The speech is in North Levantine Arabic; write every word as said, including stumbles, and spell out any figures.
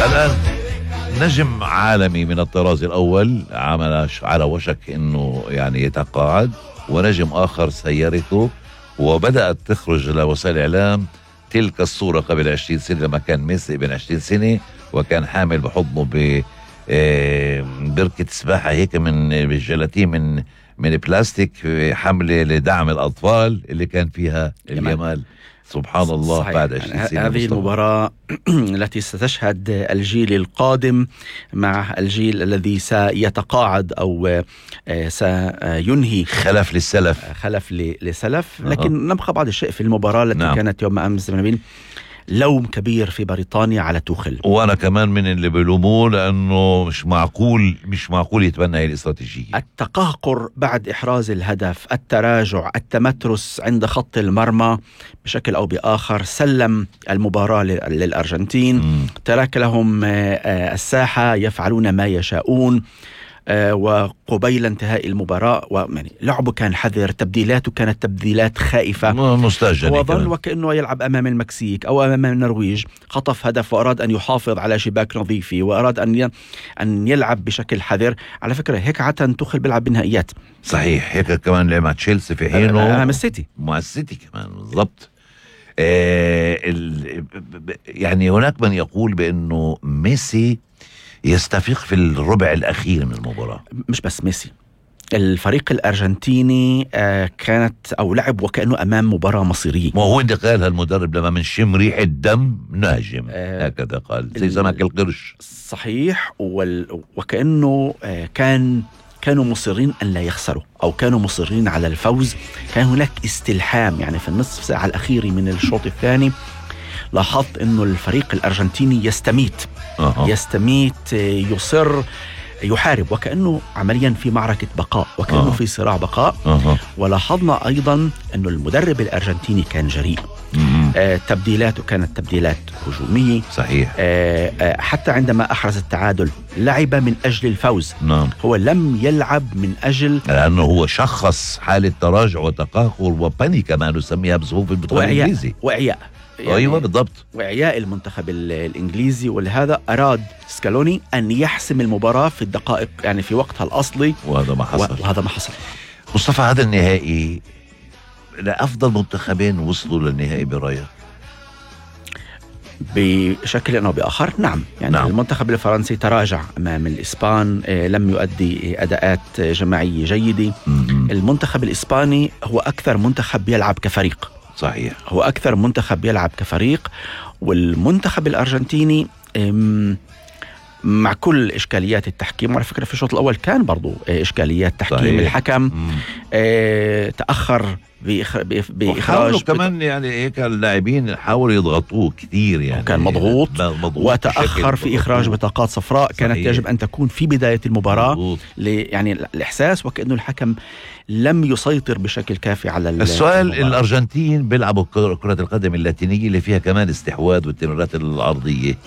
الآن نجم عالمي من الطراز الأول عمل على وشك أنه يعني يتقاعد، ونجم آخر سيرته وبدأت تخرج لوسائل الإعلام تلك الصورة قبل عشرين سنة لما كان ميسي ابن عشرين سنة وكان حامل بحضنه بركة سباحة هيك من بالجلاتين من من بلاستيك، حملة لدعم الأطفال اللي كان فيها الجمال. سبحان الله. صحيح. بعد عشرين سنة هذه المباراة التي ستشهد الجيل القادم مع الجيل الذي سيتقاعد أو سينهي خلف للسلف خلف لسلف. لكن أه. نبقى بعض الشيء في المباراة التي نعم. كانت يوم أمس لوم كبير في بريطانيا على توخل، وانا كمان من اللي بلوموه لانه مش معقول مش معقول يتبنى هي الاستراتيجيه. التقهقر بعد احراز الهدف، التراجع، التمترس عند خط المرمى بشكل او باخر سلم المباراه للارجنتين. م. ترك لهم الساحه يفعلون ما يشاءون، وقبيل انتهاء المباراة ويعني لعبه كان حذر، تبديلاته كانت تبديلات خائفة مستهجنة، وظل وكأنه يلعب أمام المكسيك أو أمام النرويج. خطف هدف وأراد أن يحافظ على شباك نظيفة وأراد أن أن يلعب بشكل حذر. على فكرة هيك عادة توخل بيلعب بالنهائيات. صحيح، هيك كمان لعب مع تشيلسي في حينه أمام السيتي مع السيتي كمان بالضبط. آه يعني هناك من يقول بأنه ميسي يستفيق في الربع الأخير من المباراة. مش بس ميسي، الفريق الأرجنتيني آه كانت أو لعب وكأنه أمام مباراة مصيرية. ما هو اللي قالها المدرب لما منشم ريحة دم نهجم، آه هكذا قال زي سمك القرش. صحيح. وال... وكأنه آه كان كانوا مصرين أن لا يخسروا أو كانوا مصرين على الفوز. كان هناك استلحام يعني في النصف ساعة الأخير من الشوط الثاني. لاحظت أنه الفريق الأرجنتيني يستميت أه. يستميت يصر يحارب وكأنه عمليا في معركة بقاء وكأنه أه. في صراع بقاء أه. ولاحظنا أيضا أنه المدرب الأرجنتيني كان جريء. آه تبديلاته كانت تبديلات هجومية. صحيح. آه آه حتى عندما أحرز التعادل لعب من أجل الفوز. نعم. هو لم يلعب من أجل لأنه هو شخص حالة تراجع وتقهقر وبانيكا ما نسميها بصفوف البطولة الإنجليزية وإعياء. يعني أيوة بالضبط، وإعياء المنتخب الإنجليزي. ولهذا أراد سكالوني أن يحسم المباراة في الدقائق يعني في وقتها الأصلي، وهذا ما حصل. وهذا ما حصل. مصطفى، هذا النهائي لأفضل منتخبين وصلوا للنهائي برأيك؟ بشكل أو بآخر نعم. يعني نعم. المنتخب الفرنسي تراجع أمام الإسبان، لم يؤدي أداءات جماعية جيدة. م-م. المنتخب الإسباني هو أكثر منتخب يلعب كفريق. صحيح، هو أكثر منتخب يلعب كفريق. والمنتخب الأرجنتيني مع كل إشكاليات التحكيم، وعلى فكرة في الشوط الأول كان برضو إشكاليات تحكيم. صحيح. الحكم اه تأخر بإخراج كمان بت... يعني هيك اللاعبين حاولوا يضغطوه كثير يعني كان مضغوط, مضغوط وتأخر في إخراج بطاقات صفراء. صحيح. كانت يجب أن تكون في بداية المباراة ل... يعني الإحساس وكأنه الحكم لم يسيطر بشكل كافي على السؤال. المباراة. الأرجنتين بيلعبوا كرة القدم اللاتينية اللي فيها كمان استحواذ والتمريرات العرضية.